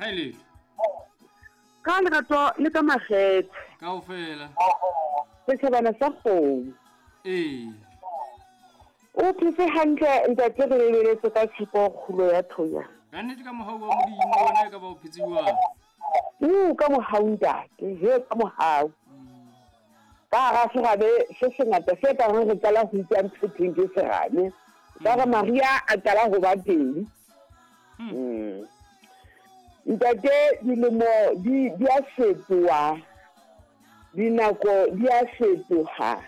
Ha e letho. Ka lerato le ka makgethe. Kaofela. Setjhabana sa kgomo. Ee. O phetse hantle ntate re lebeletse ka tshepo kgulo ya thonya. Ka nnete ka mohau wa Modimo wena e ka ba o phetse jwang? U ka mohau ntate, he ka mohau. Ka hara serame se sengata se ka reng re qala ho utlwa ntho e thweng ke serame. Ka re Maria a qala ho ba teng. Ntate dilemo di di a fetoha, dinako di a fetoha.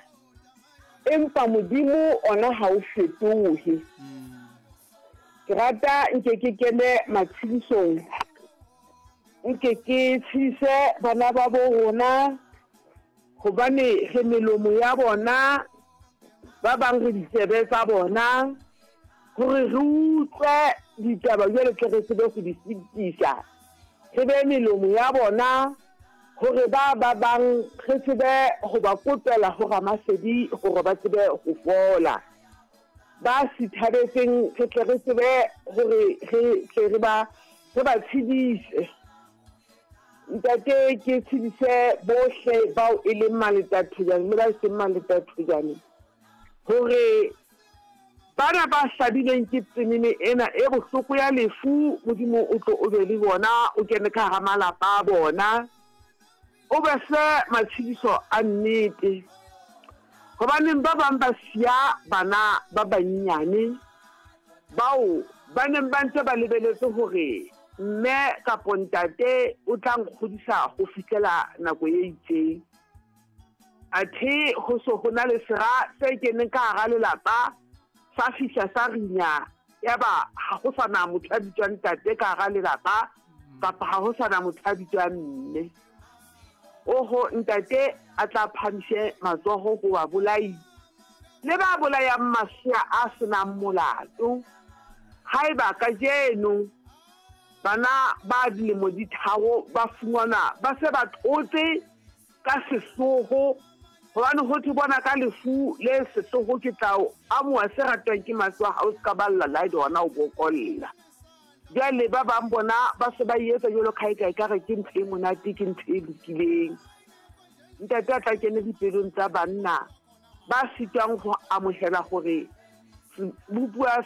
Empa Modimo ona ha o fetohe. Ke rata nke ke kene matshedisong, nke ke tshedise bana ba bo rona hobane re melomo ya bona, ba bang re ditsebe tsa bona, hore re utlwe ditaba jwale tle re tsebe ho di fetisa. Re be melomo ya bona hore ba ba bang re tsebe ho ba kopela ho Ramasedi hore ba tsebe ho fola. Ba sithabetseng re tle re tsebe hore re tle re ba re ba tshedise. Ntate ke tshedise bohle bao e leng maletathojane le ba e seng maletathojane hore bana ba hlabilweng ke tsenene ena e bohloko ya lefu, Modimo o tlo o be le bona, o kene ka hara malapa a bona, o be fe matshediso a nnete. Hobaneng ba bang ba siya bana ba banyenyane bao ba neng ba ntse ba lebeletse hore mme kapo ntate o tla nkgodisa ho fihlela nako e itseng. Athe ho so ho na le sera se keneng ka hara lelapa sa fihla sa rinya, yaba ha ho sa na motho a bitswang ntate ka hara lelapa kapa ha ho sa na motho a bitswang mme. Oho ntate a tla phamise matsoho ho babolai le ba bolayang masea a senang molato. Haeba kajeno bana ba dilemo di tharo ba fumanwa ba se ba thotse ka sehloho, hobane ho thwe bona ka lefu le sehloho ke tla o amoha se ratwang ke mahlo a hao, se ka balla la ebe hona o bokolla. Jwale ba bang bona ba se ba e etsa jwalo ka ha eka ekare ke ntho e monate, ke ntho e lokileng. Ntate a tla kene dipelong tsa banna ba sitwang ho amohela hore sebopuwa sa